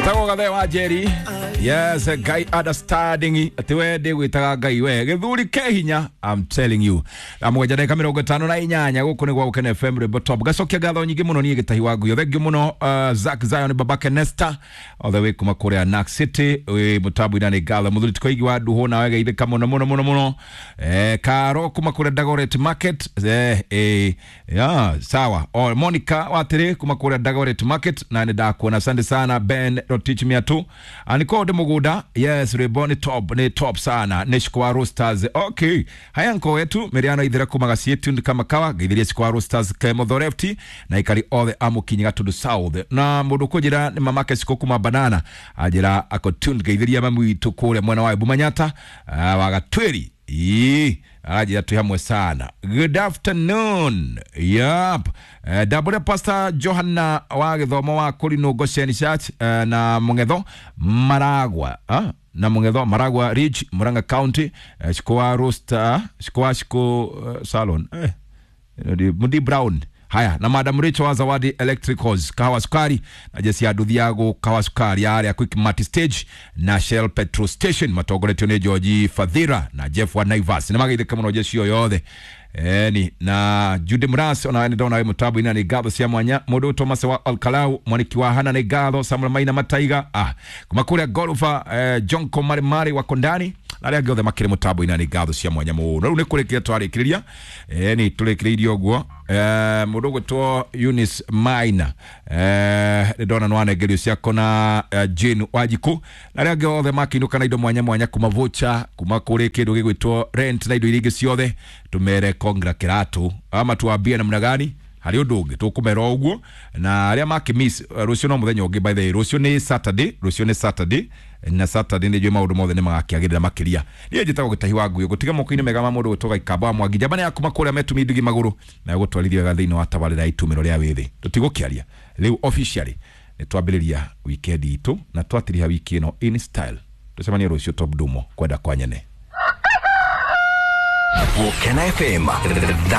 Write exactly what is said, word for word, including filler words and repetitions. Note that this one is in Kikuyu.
Etagwo Gathe wa Njeri. Yes, Ngai understanding ati we ndigwitaga Ngai we githuri ke hinya, I'm telling you. Na mũgwanja ndagĩka mĩrongo ĩtano na inyanya gũkũ nĩ gwa Gũkena F M Rwĩmbo Top. Gacokia ngatho nyingĩ mũno niĩ Gĩtahi wa Nguyo. Thank you mũno uh, Zack Zion Babake Nesta all the way kuma kũrĩa Nack City wĩ mũtambo-inĩ nĩ ngatho. Mũthuri Tikoigi wa Nduhũ nawe geithĩka mũno mũno mũno mũno. Eh, Karo kuma kũrĩa Dagoret Market eh, eh, yeah, sawa. O, Monica Watĩrĩ kuma kũrĩa Dagoret Market na nĩ ndakuona. Asante sana Ben Rotich Miatu. Aniko de Muguda, yes, rwĩmbo nĩ top, nĩ top sana. Nĩ Shikwa Roasters. Okay. Haya nko wetu Miriano ithira kuma gacie tuned kama kawa geithiria Shikwa Roasters ke Muthorefti na ikari othe amukinyi Gatundu South. Na mundu kunjira ni mamake Shiko kuma banana ajira ako tuned geithiria mami witu kuria mwena wa Bumanyata uh, wa Gatweri. Ii, aranjĩra twĩ hamwe sana. Good afternoon. Yep. Uh, Dabure Pastor Johanna wa gĩthomo wa Kũrinũ Goshen Church uh, na Mũng'etho Maragwa. Ah? Na Mũng'etho Maragwa Ridge Murang'a County uh, Shikoa Roaster, Shikoa Shiko uh, Salon. Eh. Mundi Brown. Haya, na Madam Rachel wa Zawadi Electricals, kahawa sukari na jesi ya Duthiago kahawa sukari ya Quick Mart Stage na Shell Petrol Station matongoretio nĩ George Fadhira na Jeff wa Naivas. Nĩ mageithĩka mũno jeci o yothe. Eni na Jude Mras ona nĩ ndona wĩ mũtambo-inĩ nĩ ngatho cia mwanya. Mũndũ Thomas wa Alkalau mwaniki wa Hana nĩ ngatho. Samuel Maina Mataiga ah kuma kũrĩa Golfa eh, John Komare Mari wa Kondani na arĩa angĩ othe makĩrĩ mũtambo-inĩ nĩ ngatho cia mwanya mũno. Rĩu nĩ kũrĩkĩria twarĩkĩrĩria eni tũrĩkĩrĩirie ũguo. Eh, mũndũ ũgwĩtwo Eunice Maina eh, nĩ ndona nĩwanengerio ciako na eh, Jane Wanjikũ na arĩa angĩ othe makĩinũka na indo mwanya mwanya kuma voucher kuma kũrĩ kĩndũ gĩgwĩtwo rent na indo iria ingĩ ciothe. Tũmere kongra kĩratũ ama tuambie namna gani harĩ ũndũ ũngĩ tũkũmera ũguo. Na arĩa makĩmiss rũciũ no mũthenya ũngĩ, by the way rũciũ nĩ Saturday, rũciũ nĩ Saturday na Saturday nĩ njũĩ maũndũ mothe nĩ magakĩagĩrĩra makĩria. Niĩ njĩtagwo Gĩtahi wa Nguyo gũtiga moko-inĩ mega ma mũndũ gwĩtwo Gaikamba wa Mwangi njamba nĩ ya kuma kũrĩa metumi ndigi magũrũ na gũtwarithia wega thĩinĩ wa tabarĩra ya itumĩro rĩa wĩthĩ. Tũtigũkĩaria rĩu officially nĩ twambĩrĩria weekend itũ na twatiriha wiki ĩno in style. Tũcemanie rũciũ Top Dumo kwenda kwa nyene. Gũkena F M.